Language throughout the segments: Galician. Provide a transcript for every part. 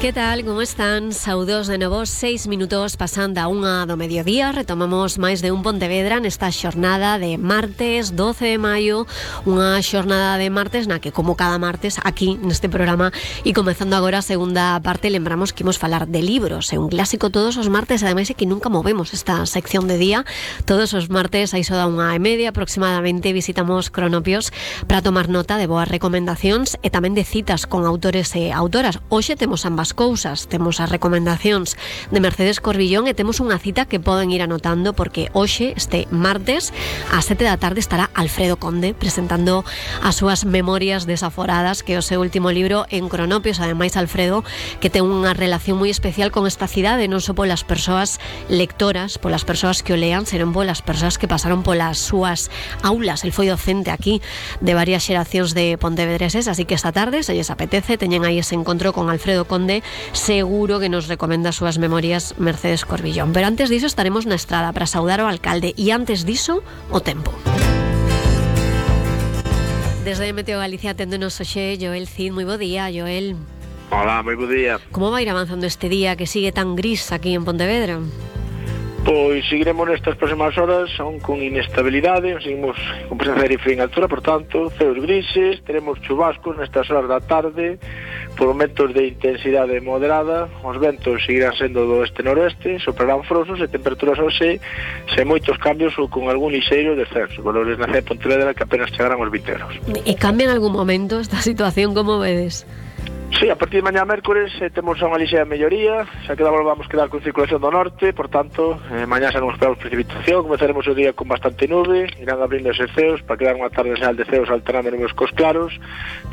Que tal, como están? Saudos de novo, 6 minutos pasan da 1 do mediodía. Retomamos máis de un Pontevedra nesta xornada de martes 12 de maio. Unha xornada de martes na que, como cada martes, aquí neste programa e comezando agora a segunda parte, lembramos que imos falar de libros. É un clásico todos os martes, ademais é que nunca movemos esta sección de día. Todos os martes, a iso da 1:30 aproximadamente, visitamos Cronopios para tomar nota de boas recomendacións e tamén de citas con autores e autoras. Hoxe temos ambas cousas, temos as recomendacións de Mercedes Corbillón e temos unha cita que poden ir anotando porque hoxe, este martes, ás 7 da tarde estará Alfredo Conde presentando as súas memorias desaforadas, que é o seu último libro en Cronopios. Ademais, Alfredo, que ten unha relación moi especial con esta cidade, non só polas persoas lectoras, polas persoas que o lean, senón polas persoas que pasaron polas súas aulas. El foi docente aquí de varias xeracións de pontevedreses, así que esta tarde, se lles apetece, teñen aí ese encontro con Alfredo Conde. Seguro que nos recomenda as súas memorias Mercedes Corbillón. Pero antes diso estaremos na estrada para saudar ao alcalde e antes diso o tempo. Desde Meteo Galicia aténdonos hoxe Joel Cid. Moi bo día, Joel. Hola, moi bo día. Como vai ir avanzando este día que sigue tan gris aquí en Pontevedra? Pois seguiremos nestas próximas horas aún con inestabilidade, seguimos con presencia de frío en altura, por tanto, ceos grises, teremos chubascos nestas horas da tarde, por momentos de intensidade moderada, os ventos seguirán sendo do oeste-noroeste, soprarán frosos e temperaturas hoxe sen moitos cambios ou con algún lixeiro descenso, valores na cidade de Pontevedra que apenas chegarán aos 20 graus. E cambia en algún momento esta situación, como vedes? Sí, a partir de mañá mércores temos unha lixeira melloría, xa que vamos quedar con circulación do norte, por tanto, mañá xa non esperamos precipitación, comezaremos o día con bastante nube, irán abrindo ese ceos para quedar unha tarde señal de ceos alternando nubes cos claros,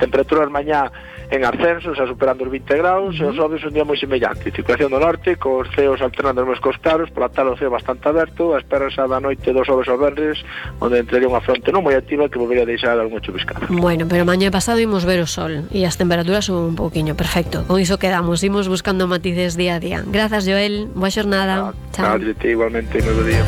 temperaturas mañá en ascenso, xa superando os 20 graus, e os xoves un día moi semellante, circulación do norte, cos ceos alternando nubes cos claros, pola tarde o ceo bastante aberto, a espera xa da noite dos xoves aos venres, onde entraría unha fronte non moi activa que volvería a deixar algún chuviscado. Bueno, pero mañá pasado imos ver o sol e as temperaturas un pouquiño. Perfecto, con iso quedamos, imos buscando matices día a día. Grazas, Joel, boa xornada. Chao. Igualmente, moi bo día.